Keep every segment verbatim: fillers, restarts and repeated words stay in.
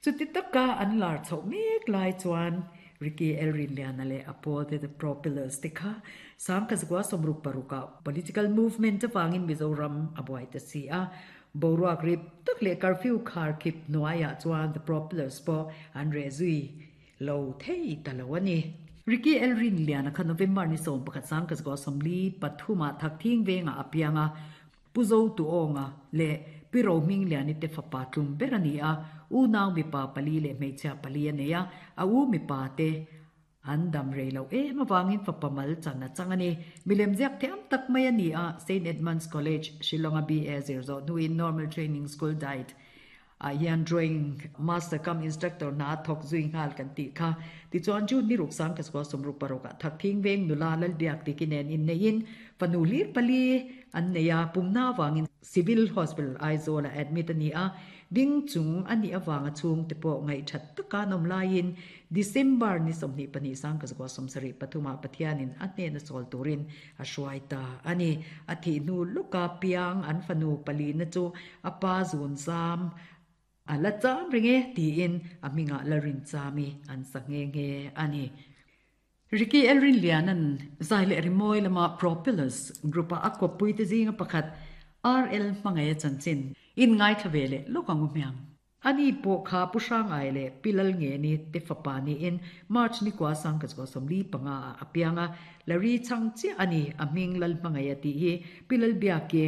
Chuti taka an lar chhoh mek lai chuan Ricky L Rinliana leh a pawlte The Propellers te kha Sangkhat zakua sawmruk paruk ah political movement avangin Mizoram a buai ta si a. Boruak rip tak leh curfew khar khip hnuaiah chuan The Propellers pawh an reh zui lo thei ta lo a ni. Ricky L Rinliana kha November ni sawm pakhat Sangkhat zakua sawmli pathumah Thakthing vengah a piang a. Pu Zotuawnga leh Pi Rohmingliani te fapa tlum ber a ni a, unau mipa pali leh hmeichhia pali a nei a, a u mipa te an dam rei loh em avangin fapa mal chan a chang a ni. Milem ziak thiam tak mai a ni a, Saint Edmund's College, Shillong-a B A zir zawh hnuin Normal Training School diet ah hian drawing master cum instructor hna a thawk zui nghal kan tih kha. Tichuan June ni ruk sang Kasua sawmruk paruk ah Thakthing veng nula Lalbiak tiki nen inneihin fanu hlir pali an nei a, pumna avangin Civil Hospital Aizawl ah admit a ni a, ding chung a nih avanga chhungte pawh ngaihthat taka an awm laiin December ni sawmhnih pahnih sang Kasua sawmsarih pathum ah Pathianin a hnena chawl turin a hruai ta a ni. A thih hnu lawka piang an fanu palina chu a pa zun zam a la cham reng e tiin a hmingah la rin chami an sa nghe nghe a ni. Ricky Elrinliana'n zai leh rimawi lama Propellers group-a a kawppuite zinga pakhat R L hmangaih a chanchin inngaithla ve leh lawk ang u hmiang. Ani pawh kha Pu Hrangai leh Pi Lalngeni te fapa niin March ni kua sangka chhuah sawmli panga ah a piang a, Larry chhang chiah a ni, a hming Lalhmangaih a tih hi Pi Lalbiaki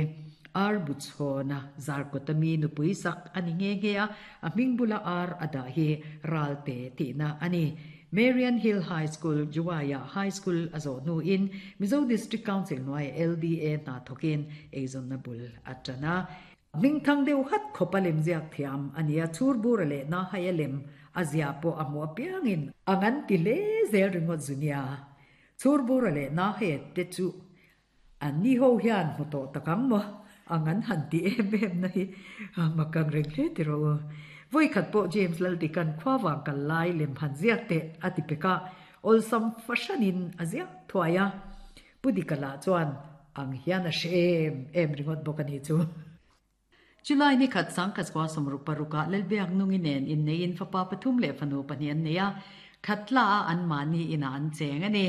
Ar Buchhawna Zarkawta mi nupui sak a ni nghe nghe a, a hming bula Ar a dah hi Ralte tihna a ni. Marian Hill High School, Juwai-ah High School a zawh hnuin Mizo District Council hnuaiah L D A hna thawkin eizawnna bul a tan a. Hmingthang deuh hat khawp a lem ziak thiam a ni a, chhur bura leh na hai a lem a ziah pawh a hmuh apiangin a ngan ti hle zel ringawt zu nia. Chhur bura leh na hai te chu an ni ho hian hmu tawh tak ang maw? A ngan han ti em em na hi mak ang reng hle ti rawh u. Vawikhat pawh James Laldikan khua vang kal lai lem han ziak teh a ti pek a, awlsam fahranin a ziak thuai a. Pu Dika lah chuan ang hian a hre em em ringawt bawk a ni chu. Chulai ni khat sangkhat kua sawmruk parukah Lalbiak nungi nen inneiin fapa pathum leh fanu pahnih an nei a, khatla a anmahni inah an cheng a ni.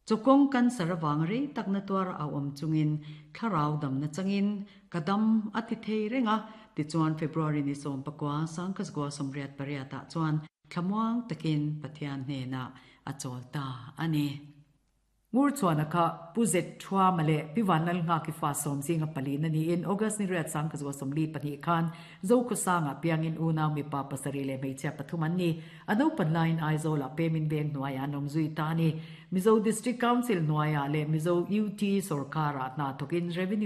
Chawkawng cancer avang rei takna tuar a awm chungin thlarau damna changin ka dam a ti thei reng a, tichuan February ni sawm pakua sangkhat kua sawmriat pariatah chuan thlamuang takin Pathian hnenah a chawl ta a ni. Ngurchhuana kha Pu Zet Thuama leh Pi Vanlalnghaki fa sawm zinga pali na niin August ni riat sang ka zuwa sawmli pahnih khan Zokhawsangah piangin unau mipa pasarih leh hmeichhia pathum an ni. A naupan laiin Aizawlah Pemin Veng hnuaiah an awm zui ta a ni. Mizo District Council hnuaiah leh Mizo U T sawrkarah hna thawkin Revenue